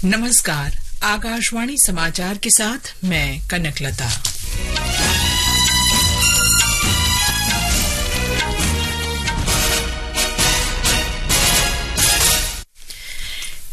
नमस्कार, आकाशवाणी समाचार के साथ मैं कनकलता।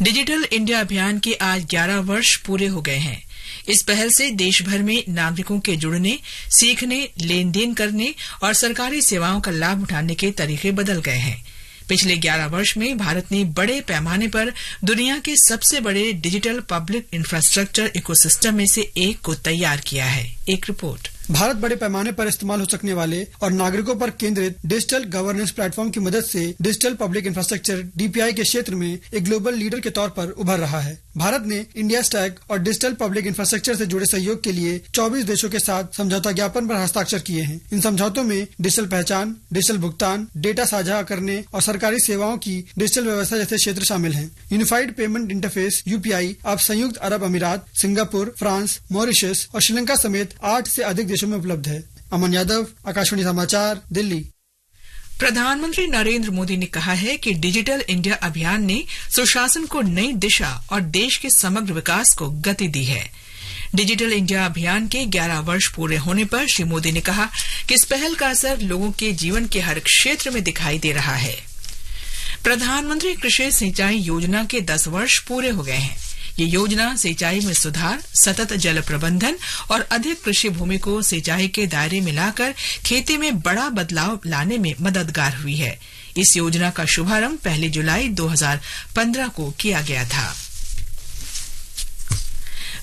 डिजिटल इंडिया अभियान के आज 11 वर्ष पूरे हो गए हैं। इस पहल से देश भर में नागरिकों के जुड़ने, सीखने, लेन then करने और सरकारी सेवाओं का लाभ उठाने के तरीके बदल गए हैं। पिछले 11 वर्ष में भारत ने बड़े पैमाने पर दुनिया के सबसे बड़े digital public infrastructure ecosystem में से एक को तैयार किया है। एक रिपोर्ट। भारत बड़े पैमाने पर इस्तेमाल हो सकने वाले और नागरिकों पर केंद्रित digital governance platform की मदद से digital public infrastructure DPI के क्षेत्र में एक ग्लोबल लीडर के तौर पर उभर रहा है। भारत ने इंडिया स्टैक और digital public infrastructure से जुड़े सहयोग के लिए 24 देशों के साथ समझौता ज्ञापन पर हस्ताक्षर किए हैं। इन समझौतों में डिजिटल पहचान, डिजिटल भुगतान, डेटा साझा करने और सरकारी सेवाओं की डिजिटल व्यवस्था जैसे क्षेत्र शामिल हैं। Unified payment interface UPI अब संयुक्त अरब अमीरात, Singapore, France, Mauritius और श्रीलंका समेत 8 से अधिक देशों में उपलब्ध है। अमन यादव, आकाशवाणी समाचार, दिल्ली। प्रधानमंत्री नरेंद्र मोदी ने कहा है कि डिजिटल इंडिया अभियान ने सुशासन को नई दिशा और देश के समग्र विकास को गति दी है। डिजिटल इंडिया अभियान के 11 वर्ष पूरे होने पर श्री मोदी ने कहा कि इस पहल का असर लोगों के जीवन के हर क्षेत्र में दिखाई दे रहा है। प्रधानमंत्री कृषि सिंचाई योजना के 10 वर्ष पूरे हो गए हैं। ये योजना सिंचाई में सुधार, सतत जल प्रबंधन और अधिक कृषि भूमि को सिंचाई के दायरे में लाकर खेती में बड़ा बदलाव लाने में मददगार हुई है। इस योजना का शुभारंभ 1 जुलाई 2015 को किया गया था।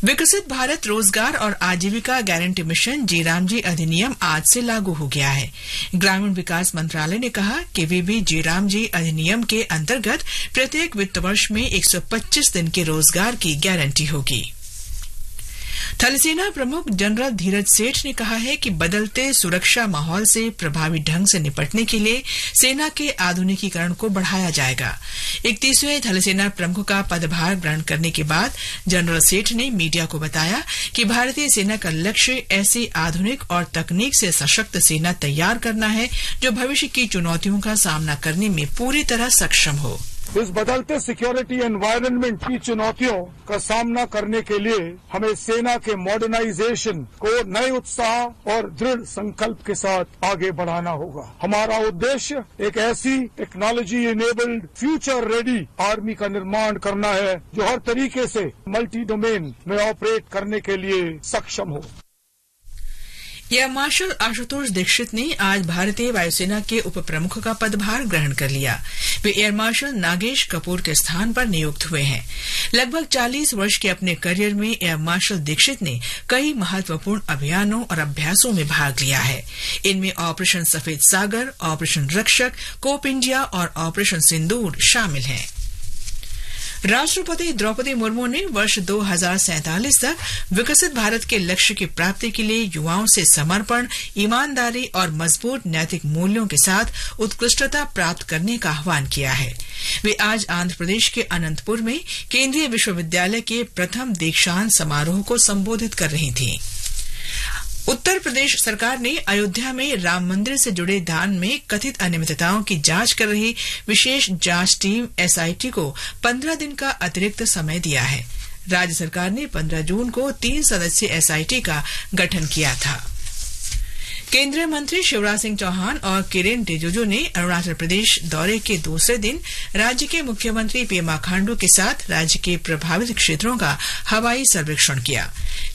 विकसित भारत रोजगार और आजीविका गारंटी मिशन जी रामजी अधिनियम आज से लागू हो गया है। ग्रामीण विकास मंत्रालय ने कहा कि वीबी जी रामजी अधिनियम के अंतर्गत प्रत्येक वित्त वर्ष में 125 दिन के रोजगार की गारंटी होगी। थलसेना प्रमुख जनरल धीरज सेठ ने कहा है कि बदलते सुरक्षा माहौल से प्रभावी ढंग से निपटने के लिए सेना के आधुनिकीकरण को बढ़ाया जाएगा। 31वें थलसेना प्रमुख का पदभार ग्रहण करने के बाद जनरल सेठ ने मीडिया को बताया कि भारतीय सेना का लक्ष्य ऐसी आधुनिक और तकनीक से सशक्त सेना तैयार करना है जो भविष्य की चुनौतियों का सामना करने में पूरी तरह सक्षम हो। इस बदलते सिक्योरिटी एनवायरनमेंट की चुनौतियों का सामना करने के लिए हमें सेना के मॉडर्नाइजेशन को नए उत्साह और दृढ़ संकल्प के साथ आगे बढ़ाना होगा। हमारा उद्देश्य एक ऐसी technology enabled future ready army का निर्माण करना है जो हर तरीके से मल्टी डोमेन में ऑपरेट करने के लिए सक्षम हो। एयर मार्शल आशुतोष दीक्षित ने आज भारतीय वायुसेना के उप प्रमुख का पदभार ग्रहण कर लिया। वे एयर मार्शल नागेश कपूर के स्थान पर नियुक्त हुए हैं। लगभग 40 वर्ष के अपने करियर में एयर मार्शल दीक्षित ने कई महत्वपूर्ण अभियानों और अभ्यासों में भाग लिया है। इनमें ऑपरेशन सफेद सागर, ऑपरेशन रक्षक, कोप इंडिया और ऑपरेशन सिंदूर शामिल हैं। राष्ट्रपति द्रौपदी मुर्मू ने वर्ष 2047 तक विकसित भारत के लक्ष्य की प्राप्ति के लिए युवाओं से समर्पण, ईमानदारी और मजबूत नैतिक मूल्यों के साथ उत्कृष्टता प्राप्त करने का आह्वान किया है। वे आज आंध्र प्रदेश के अनंतपुर में केंद्रीय विश्वविद्यालय के प्रथम दीक्षांत समारोह को संबोधित कर रही थीं। उत्तर प्रदेश सरकार ने अयोध्या में राम मंदिर से जुड़े दान में कथित अनियमितताओं की जांच कर रही विशेष जांच टीम एसआईटी को 15 दिन का अतिरिक्त समय दिया है। राज्य सरकार ने 15 जून को 3 सदस्यीय एसआईटी का गठन किया था। केंद्रीय मंत्री शिवराज सिंह चौहान और किरेन रिजिजू ने अरुणाचल प्रदेश दौरे के दूसरे दिन राज्य के मुख्यमंत्री पेमा खांडू के साथ राज्य के प्रभावित क्षेत्रों का हवाई सर्वेक्षण किया।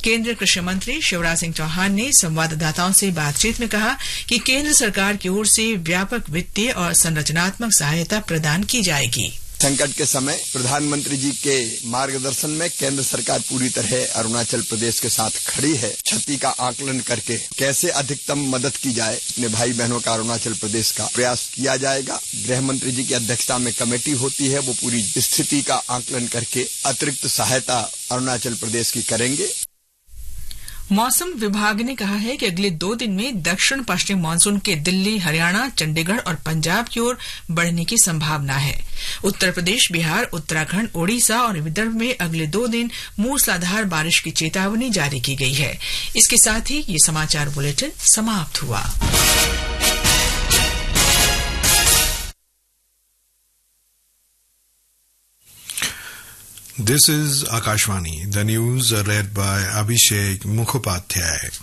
केंद्रीय कृषि मंत्री शिवराज सिंह चौहान ने संवाददाताओं से बातचीत में कहा कि केंद्र सरकार की ओर से व्यापक वित्तीय और संरचनात्मक सहायता प्रदान की जाएगी। संकट के समय प्रधानमंत्री जी के मार्गदर्शन में केंद्र सरकार पूरी तरह अरुणाचल प्रदेश के साथ खड़ी है। क्षति का आकलन करके कैसे अधिकतम मदद की जाए अपने भाई बहनों का अरुणाचल प्रदेश का प्रयास किया जाएगा। गृह मंत्री जी की अध्यक्षता में कमेटी होती है, वो पूरी स्थिति का आकलन करके अतिरिक्त सहायता अरुणाचल प्रदेश की करेंगे। मौसम विभाग ने कहा है कि अगले 2 दिन में दक्षिण पश्चिम मानसून के दिल्ली, हरियाणा, चंडीगढ़ और पंजाब की ओर बढ़ने की संभावना है। उत्तर प्रदेश, बिहार, उत्तराखंड, ओडिशा और विदर्भ में अगले 2 दिन मूसलाधार बारिश की चेतावनी जारी की गई है। इसके साथ ही ये समाचार बुलेटिन समाप्त हुआ। This is Akashvani. The news are read by Abhishek Mukhopadhyay.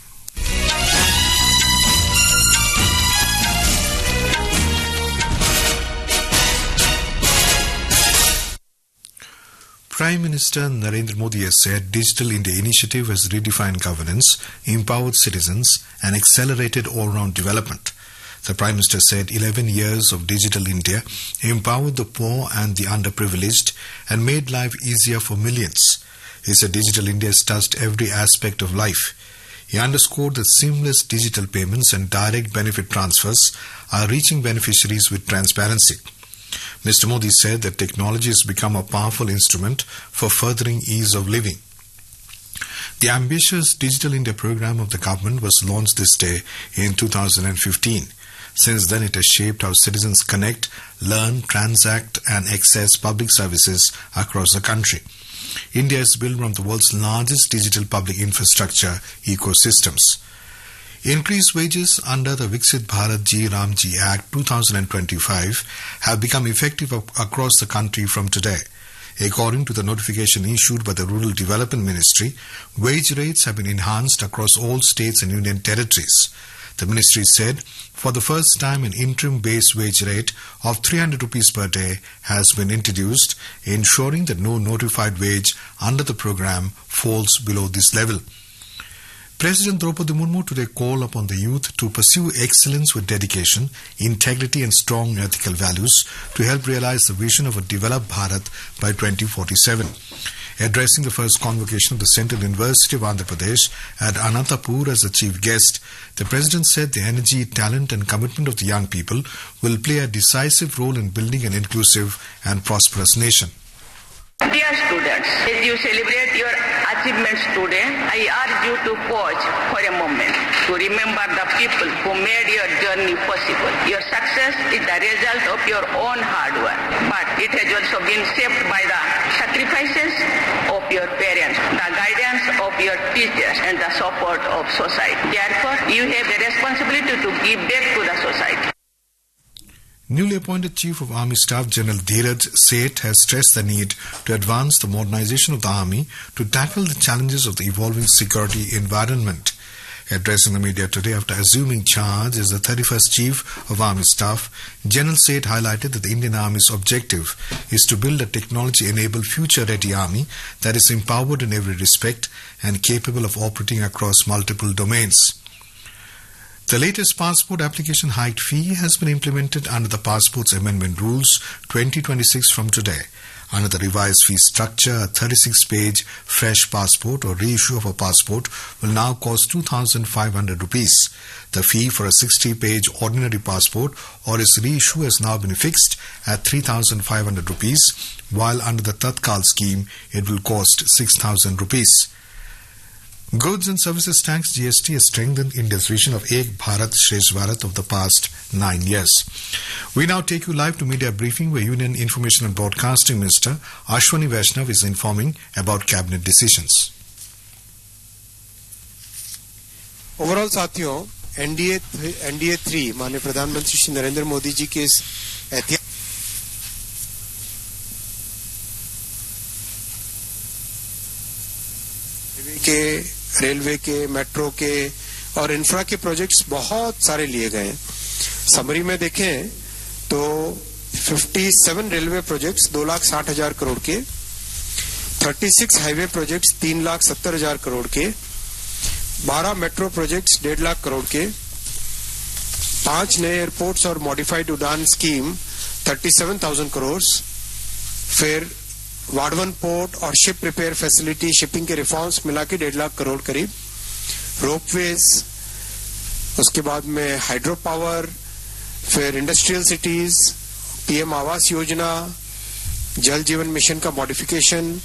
Prime Minister Narendra Modi has said Digital India initiative has redefined governance, empowered citizens and accelerated all-round development. The Prime Minister said 11 years of Digital India empowered the poor and the underprivileged and made life easier for millions. He said Digital India has touched every aspect of life. He underscored that seamless digital payments and direct benefit transfers are reaching beneficiaries with transparency. Mr. Modi said that technology has become a powerful instrument for furthering ease of living. The ambitious Digital India program of the government was launched this day in 2015. Since then, it has shaped how citizens connect, learn, transact, and access public services across the country. India has built one of the world's largest digital public infrastructure ecosystems. Increased wages under the Viksit Bharat G Ramji Act 2025 have become effective across the country from today. According to the notification issued by the Rural Development Ministry, wage rates have been enhanced across all states and union territories. The ministry said for the first time an interim base wage rate of 300 rupees per day has been introduced, ensuring that no notified wage under the program falls below this level. President Draupadi Murmu today called upon the youth to pursue excellence with dedication, integrity and strong ethical values to help realize the vision of a developed Bharat by 2047. Addressing the first convocation of the Central University of Andhra Pradesh at Anantapur as the chief guest, the President said the energy, talent and commitment of the young people will play a decisive role in building an inclusive and prosperous nation. Dear students, as you celebrate your achievements today, I urge you to pause for a moment to remember the people who made your journey possible. Your success is the result of your own hard work, but it has also been shaped by the sacrifices of your parents, the guidance of your teachers, and the support of society. Therefore, you have a responsibility to give back to the society. Newly appointed Chief of Army Staff General Dheeraj Seth has stressed the need to advance the modernization of the army to tackle the challenges of the evolving security environment. Addressing the media today after assuming charge as the 31st Chief of Army Staff, General Seth highlighted that the Indian Army's objective is to build a technology-enabled future-ready army that is empowered in every respect and capable of operating across multiple domains. The latest passport application hike fee has been implemented under the Passports Amendment Rules 2026 from today. Under the revised fee structure, a 36-page fresh passport or reissue of a passport will now cost 2,500 rupees. The fee for a 60-page ordinary passport or its reissue has now been fixed at 3,500 rupees, while under the Tatkal scheme, it will cost 6,000 rupees. Goods and Services Tax GST has strengthened India's vision of Ek Bharat Shresth Bharat of the past 9 years. We now take you live to media briefing where Union Information and Broadcasting Minister Ashwani Vaishnav is informing about cabinet decisions. Overall साथियों NDA NDA three माननीय प्रधानमंत्री श्री नरेंद्र मोदी जी के इस ऐतिहासिक के रेलवे के मेट्रो के और इंफ्रा के प्रोजेक्ट्स बहुत सारे लिए गए हैं। समरी में देखें तो 57 रेलवे प्रोजेक्ट्स 2,60,000 करोड़ के, 36 हाईवे प्रोजेक्ट्स 3,70,000 करोड़ के, 12 metro projects 1.5 lakh crore के, 5 नए एयरपोर्ट्स और मॉडिफाइड उड़ान स्कीम 37,000 करोड़, फिर वाडवन पोर्ट और ship repair facility, shipping के रिफॉर्म्स मिला के 1.5 लाख करोड़ करीब, रोपवेज, उसके बाद में हाइड्रो पावर, फिर industrial cities, PM Awas Yojana, Jal Jeevan mission का मॉडिफिकेशन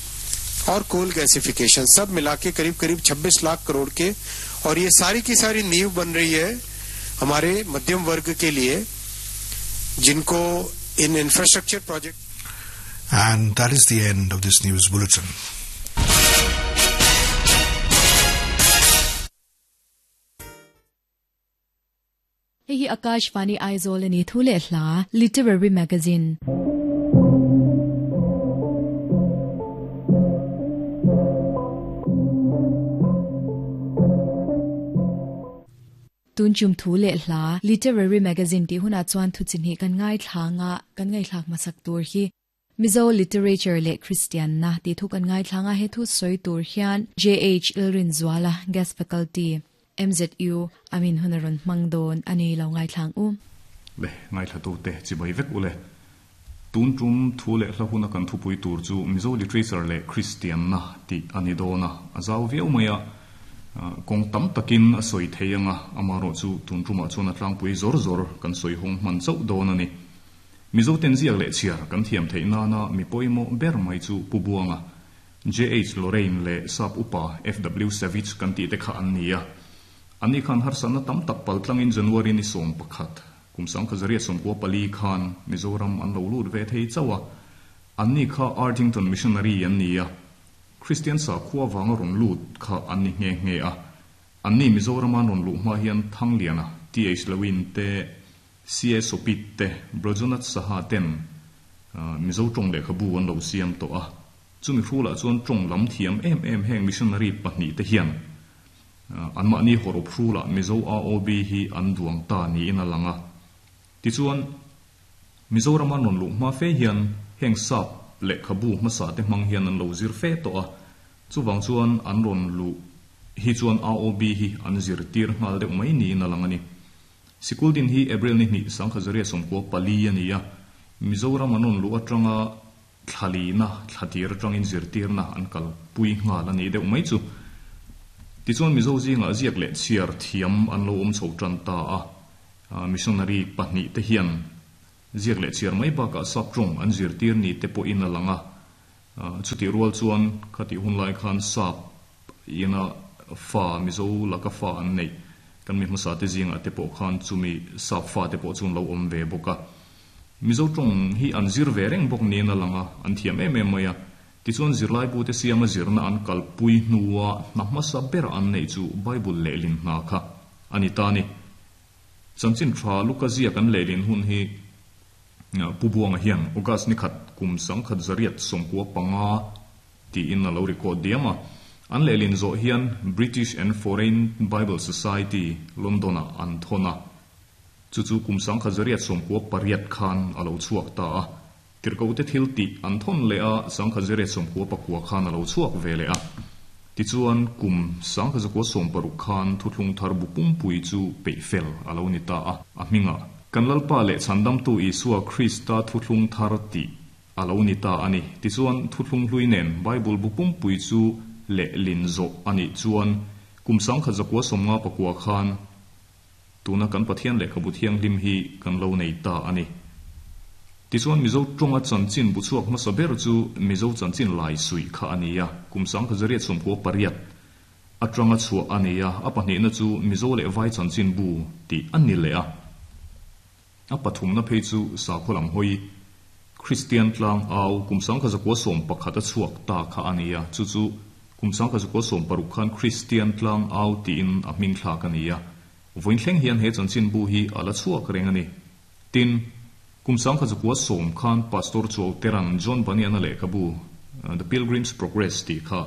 और कोल गैसिफिकेशन, सब मिला के करीब करीब 26 लाख करोड़ के। और ये सारी की सारी नींव बन रही है हमारे मध्यम वर्ग के लिए, जिनको इन infrastructure project. And that is the end of this news bulletin. Hei hi Akashvani Aizawl a ni thu leh hla Literary Magazine. Tun tum thu leh hla Literary Magazine tih hunah chuan thu chi hnih kan ngaithla anga kan ngaihthlak hmasak tur hi Mizo Literature leh Kristianna tih thu kan ngaithla anga he thu sawi tur hian JH Ilrinzuala, Guest Faculty, MZU, a min hun a rawn hmang dawn a ni lo ngaithlang u. Le, ngaithlatute chibai vek u le. Tun tum thu leh hla huna kan thupui tur chu Mizo Literature leh Kristianna tih a ni dawn a, a zau viau mai a, kawng tam takin a sawi thei ang a, amaherawh chu tun tumah chuan a tlangpui zawr zawr kan sawi hawng hman chauh dawn a ni. Mizo ten ziak leh chhiar kan thiam theih nana mi pawimawh ber mai chu Pu Buanga, JH Lorraine leh Sap Upa FW Savage kan tih te kha an ni a. Anni khan harsatna tam tak paltlangin January ni 11, Kum 1994 khan Mizoram an lo lut ve thei chauh a, anni kha Arthington Missionary an ni a, Kristian sakhua vanga rawn lut kha an ni nghe nghe a. Anni Mizorama an rawn luh hma hian Thangliana, TH Lewin te, CA Sopit te, Brajonath Saha ten Mizo tawng lehkhabu an lo siam tawh a. Chumi hrulah chuan tawng lam thiam em em heng missionary pahnihte hian Anmahni hawrawp hrulah Mizo AOB hi an duang ta niin a lang a. Tichuan, Mizorama rawn luh hma fe hian heng sap lehkhabu hmasa te hmang hian an lo zir fe tawh a. Chuvang chuan an rawn luh hi chuan AOB hi an zirtir nghal deuh mai niin a lang a ni. Sikul din hi April ni hnih 1994 a ni a. Mizoram an rawn luh atanga Thlalina thlatir atangin zirtirna an kalpui nghal a nih deuh mai chu. Tichuan Mizo zingah ziak leh chhiar thiam an lo awm chho tan ta a, missionary pahnihte hian ziak leh chhiar mai bakah sap tawng an zirtir ni te pawhin a lang a. Chutih rual chuan khatih hun lai khan sap ina fa Mizo laka fa an neih kan mi hmasa te zingah te pawh khan chumi sap fa te pawh chu an lo awm ve bawk a. Mizo tawng hi an zir ve reng bawk niin a lang a, an thiam em em mai a. Tichuan zirlaibute siama zirna an kalpui hnua hna hmasa bera an neih chu Bible lehlin hna kha a ni ta a ni. Chanchin tha Luka ziak an lehlin hun hi Pu Buanga hian August ni khat kum 1995 tiin a lo record diam a. An lehlin zawh hian British and Foreign Bible Society, London-ah an thawn a. Chu chu kum 1998 khan a lo chhuak ta a, tirhkohte thil tih an thawn leh a, 1999 khan a lo chhuak ve leh a. Tichuan, kum 1960 khan Thuthlung Thar bu pumpui chu peih fel a lo ni ta a, a hmingah, Kan Lalpa leh Chhandamtu Isua Krista Thuthlung Thar tih a lo ni ta a ni. Tichuan, Thuthlung hlui nen Bible bu pumpui chu lehlin zawh a nih chuan kum 1959 khan, Tuna kan Pathian lehkhabu thianghlim hi kan lo nei ta a ni. Tichuan Mizo tawnga chanchin bu chhuak hmasa ber chu Mizo chanchin lai suih kha a ni a, kum 1998 atanga chhuah a ni a, a pahnihna chu Mizo leh Vai chanchin bu tih a ni leh a. A pathumna phei chu sakhaw lam hawi Kristian tlang au kum 1911 a chhuak ta kha a ni a, chu chu kum 1960 khan Kristian tlang au tiin a hming thlak a ni a. Vawiin thleng hian he chanchinbu hi a la chhuak reng a ni. Tin, kum 1910 khan Pastor Chuau Teran John Bunyan-a lehkhabu The Pilgrim's Progress tih kha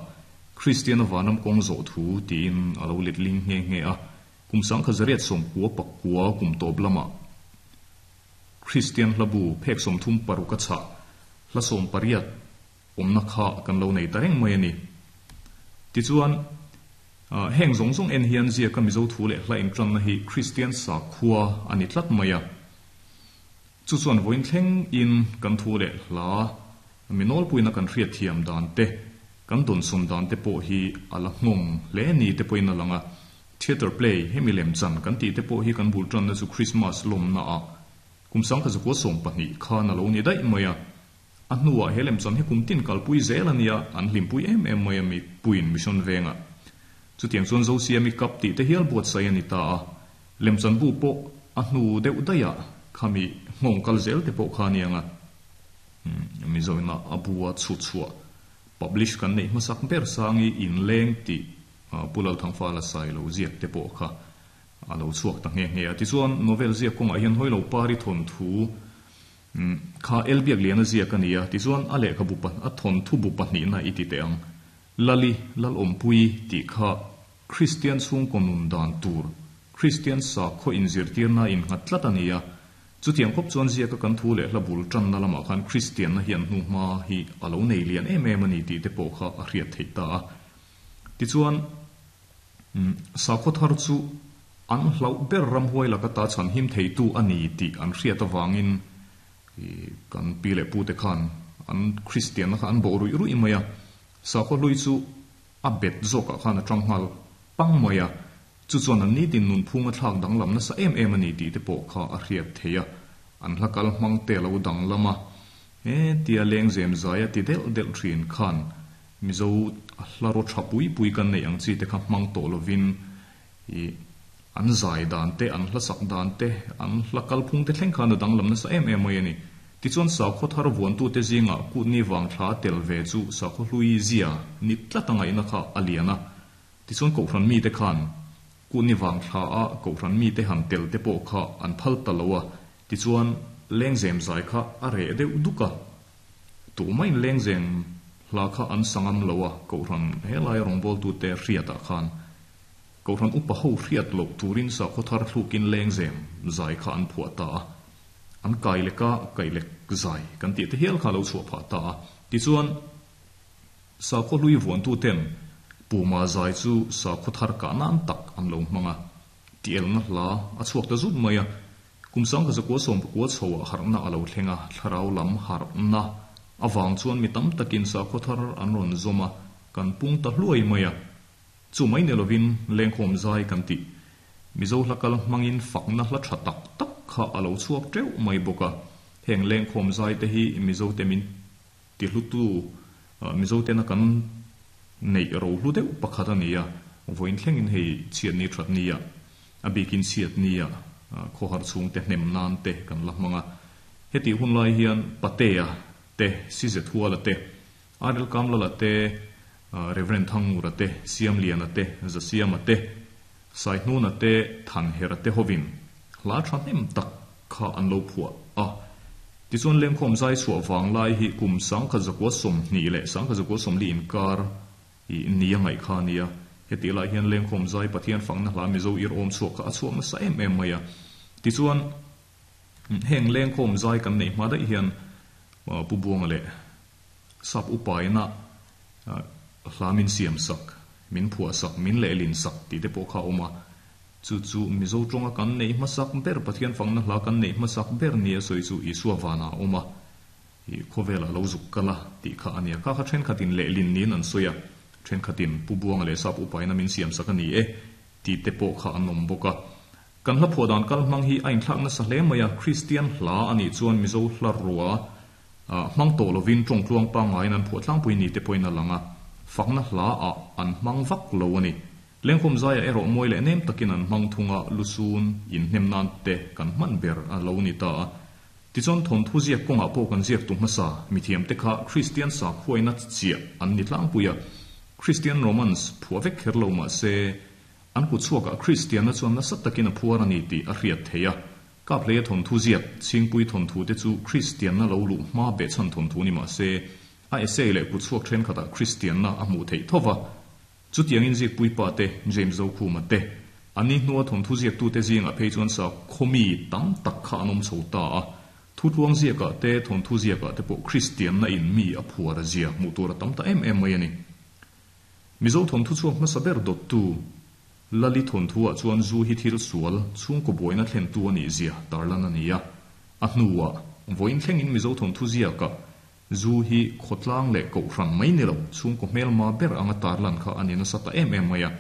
Kristiana vanram kawng zawh thu tiin a lo letling nghe nghe a. Kum 1999 kum tawp lamah Kristian hlabu phek 36 a chhah hla 18 awmna kha kan lo nei ta reng mai a ni. Tichuan, heng zawng zawng en hian ziaka Mizo thu leh hla intanna hi Kristian sakhua a ni tlat mai a. Chu chuan vawiin thleng in kan thu leh hla mi nawlpuina kan hriatthiam dan te, kan dawnsawn dan te pawh hi a la nghawng hle ni te pawhin a lang a. Theatre play, hemi lemchan kan tih te pawh hi kan bul tanna chu Christmas lawmna ah kum 1912 khan a lo ni daih mai a. A hnuah he lemchan hi kum tin kalpui zel a nia, an hlimpui em em mai a mi puiin mission vengah. Chutiang chuan Zosiami Cup tih te hial buatsaih a ni ta a, lemchan bu pawh a hnu deuh daihah khami nghawng kal zel te pawh kha a ni ang a. Mizoina a bu a chhut chhuah, publish, kan neih hmasak ber sangi inleng tih Pu Lalthangfala sai lo ziak te pawh kha a lo chhuak ta nghe nghe a. Tichuan novel ziak kawngah hian Hawilo Pari thawnthu Kha Elbiak lian a ziak a ni a, tichuan a lehkhabu a thawnthu bu pahnihna i ti teh ang. Lali, Lalawmpui tih kha Kristian chhungkaw nun dan tur, Kristian sakhaw inzirtirna innghat tlat a ni a. Chutiang khawp chuan ziaka kan thu leh hla bul tanna lamah khan Kristianna hian hnuhma hi a lo nei lian em em a ni tih te pawh kha a hriat theih ta a. Tichuan, sakhaw thar chu an hlauh ber ramhuai laka ta chhanhim theitu a ni tih an hriat avangin kan pi leh pute khan an Kristianna kha an bawh ruih ruih mai a. Sakhaw hlui chu a bet zawkah khan a tang nghal pang mai a. Chu chuan an nitin nunphung a thlak danglam nasa em em a ni tih te pawh kha a hriat theih a, an hla kal hmang te a lo danglam a, he tia lengzem zai a ti delh delh thin khan Mizo hla raw tha pui pui kan neih ang chi te kha hmang tawh lovin i an zai dan te, an hla sak dan te, an hla kalphung te thleng khan a danglam nasa em em mai a ni. Tichuan sakhaw thar vuantute zingah kutni vang thla tel ve chu sakhaw hlui zia ni tlat a ngaihna kha a lian a. Tichuan Kohhran mite khan Kutni vang thla a Kohhran mite han tel te pawh kha an phal ta lo a, tichuan lengzem zai kha a reh deuh duk a. Tumah in lengzem hla kha an sa ngam lo a, Kohhran helai rawngbawltute hriatah khan Kohhran upa ho hriat loh turin sakhaw thar thlukin lengzem zai kha an phuah ta a. An kai leka kai lek zai kan tih te hial kha a lo chhuah phah ta a. Tichuan. Sakhaw hlui vuantuten Puma zai chu sakhaw thar kah nan tak an lo hmang a, tielna hla a chhuak ta zut mai a. Kum 1919 chhoah harhna a lo thleng a, thlarau lam harhna avang chuan mi tam takin sakhaw thar an rawn zawm a, kan pung ta hluai mai a. Chu mai ni lovin lengkhawm zai kan tih Mizo hla kal hmangin fakna hla tha tak tak kha a lo chhuak teuh mai bawk a. Heng lengkhawm zai te hi Mizote min Tihlutu Mizo tena kan neih rohlu deuh pakhat a ni a, vawiin thlengin hei chhiatni that nia, a bikin chhiatnia khawhar chhungte hnem nan te kan la hmang a. Hetih hun lai hian Patea te, Sizethuala te, Arel Kamlala te, Rev. Thangngura te, Siamliana te, Zasiama te, Saihnuna te, Thanhera te hovin hla thahnem tak kha an lo phuah a. Tichuan lengkhawm zai chhuah vang lai hi kum 1920 leh 1940 inkar i nia ngaih kha a nia. Hetih lai hian lengkhawm zai Pathian fakna hla Mizo ir awm chhuak kha a chhuak nasa em em mai a. Tichuan heng lengkhawm zai kan neih hma daih hian Pu Buanga leh Sap upaina hla min siam sak, min phuah sak, min lehlin sak tih te pawh kha a awm a. Chu chu Mizo tawnga kan neih hmasak ber, Pathian fakna hla kan neih hmasak ber nia sawi chu Isua vanah a awm a, i khawvelah lo zuk kal a tih kha a nia. Kha kha thenkhatin lehlin niin an sawi a, thenkhatin Pu Buanga leh Sap upaina min siam sak a ni e tih te pawh kha an awm bawk a. Kan hla phuah dan kal hmang hi a inthlak nasa hle mai a, Kristian hla a nih chuan Mizo hla rua hmang tawh lovin tawngtluang pangngaiin an phuah tlangpui ni te pawhin a lang a, fakna hla ah an hmang vak lo a ni. Lengkhawm zaiah erawh mawi leh nem takin an hmang thung a, lusun inhnem nan te kan hman ber a lo ni ta a. Tichuan thawnthu ziak kawngah pawh kan ziaktu hmasa mithiam te kha Kristian sakhuaina chiah an ni tlangpui a, Kristian romance phuah vek kher lo mah se an kut chhuakah Kristianna chuan nasa takin a phuar a ni tih a hriat theih a. Kaphleia thawnthu ziak Chhingpui thawnthu te chu Kristianna lo luh hma behchhan thawnthu ni mah se a essay leh kut chhuak thenkhatah Kristianna a hmuh theih tho va. Chutiangin zikpuipa te, James Zokhuma te, an ni hnua thawnthu ziaktute zingah phei chuan sakhaw mi tam tak kha an awm chho ta a. Thutluang ziakah te, thawnthu ziakah te pawh Kristianna in mi a phuar a zia hmuh tur a tam ta em em mai a ni. Mizo thawnthu chhuak hmasa ber dawttu Lali thawnthu-ah chuan zu hi thil sual, chhungkaw buaina thlentu a nih zia tarlan a ni a. A hnuah, vawiin thlengin Mizo thawnthu ziakah Zu hi khawtlang leh kohhran mai ni lo, chhungkaw hmelma ber anga tarlan kha a ni nasa ta em em mai a.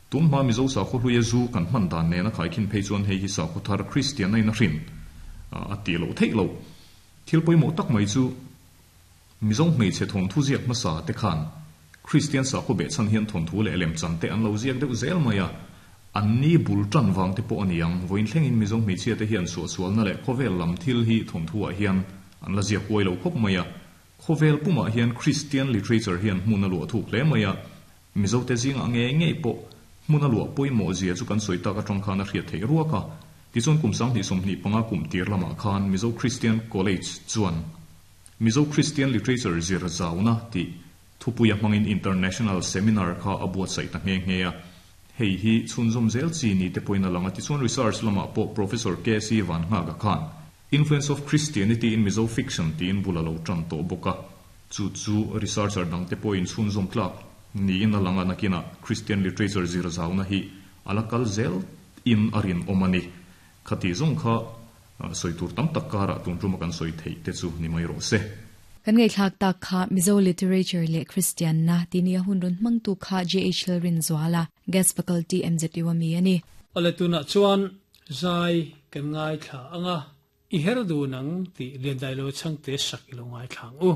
Tunhma Mizo sakhaw hluia zu kan hman dan nena khaikhin phei chuan hei hi sakhaw thar Kristianna in a hrin a tih loh theih loh. Thil pawimawh tak mai chu Mizo hmeichhe thawnthu ziak hmasa te khan Kristian sakhaw behchhan hian thawnthu leh lemchan te an lo ziak deuh zel mai a, an ni bul tan vang te pawh a ni ang. Vawiin thlengin Mizo hmeichhia te hian suahsualna leh khawvel lam thil hi thawnthu ah hian an la ziak huai lo khawp mai a. Khawvel pumah hian Kristian literature hian hmun a luah thuk hle mai a, Mizo te zingah ngei ngei pawh hmun a luah pawimawh zia chu kan sawi tak atang khan a hriat theih ruak a. Tichuan kum 2025 kum tir lamah khan Mizo Christian College chuan Mizo Christian Literature zir zauna tih thupuia hmangin International Seminar kha a buatsaih ta nghe nghe a. Hei hi chhunzawm zel chi ni te pawhin a lang a, tichuan research lamah pawh Professor KC Vannghaga khan Influence of Christianity in Mizo Fiction tiin bul a lo tan tawh bawk a, chu chu researcher dangte pawhin chhunzawm tlak niin a lang a, nakinah Christian literature zir zauna hi a la kal zel in a rinawm a ni. Khati zawng kha sawi tur tam tak karah tun tuma kan sawi theih te chu ni mai rawh se. Kan ngaihthlak tak kha Mizo Literature leh Kristianna tih nia hun rawn hmangtu kha JH Lalrinzuala, Guest Faculty MZU a mi a ni. Awle tunah chuan zai kan ngaithla ang a, i her dun ang tih Liandailo chhangte sak i lo ngaithla ang u.